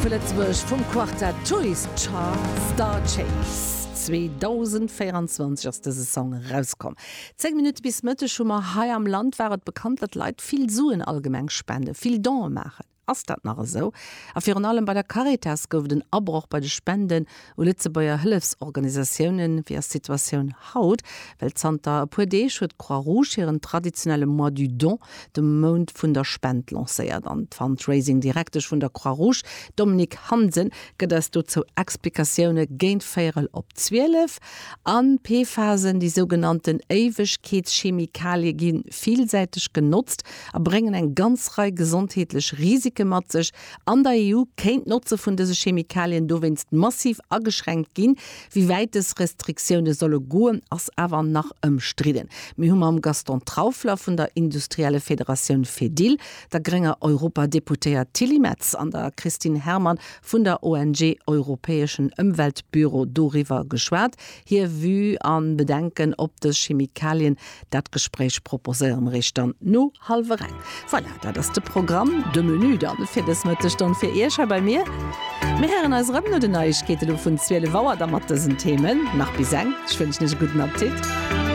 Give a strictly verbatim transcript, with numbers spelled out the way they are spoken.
vu Lëtzebuerg vum Quartett Toys Star Chase. zweedausendvéierundzwanzeg ass dëse Song erauskomm. Zéng Minutte bis Mëtteg hu mer. Hei am Land war et bekannt, datt Leit vill Suen allgemeng spenden, vill Donë maachen. Ass dat nach esou? A virun allem bei der Caritas gouf et en Abroch bei de Spenden u Lëtzebuerger Hëllefsorganisatiounen. Wéi ass d'Situatioun haut? Well zanter e puer Deeg huet d'Croix Rouge hiren traditionelle Mois du Don, de Mount vun der Spend, lancéiert. An d'Fundraising-Direktesch vun der Croix Rouge, Dominique Hansen, gëtt eis dozou Explikatioune géint véierel op zwielef. An PFASen, déi sougenannten Éiwegkeetschemikalie, gi villsäiteg genotzt a bréngen eng ganz Rei gesondheetlech Risike mat sech. An der E U kéint d'Notze vun dëse Chemikalien dowéinst massiv ageschränkt ginn. Wéi wäit dës Restriktioune solle goen, ass awer nach ëmstridden. Mir hu mam Gaston Trauffler vun der Industriellefederatioun Fedil, der grénger Europadeputéiert Tilly Metz an der Christine Herrmann vun der O N G Europäeschen Ëmweltbüro doriwwer geschwat. Hir Vue a Bedenken op dës Chemikalien, dat Gespréich proposéiere mer iech dann no hallwer eng. Voilà, dat ass de Programm, de Menü dann fir dës Mëttesstonn fir Iech hei bei mir. Mir héieren eis erëm no den Neiegkeete lo vun zwielef Auer da mat dësen Themen. Nach bis eng, ech wënschen iech e gudden Appetit.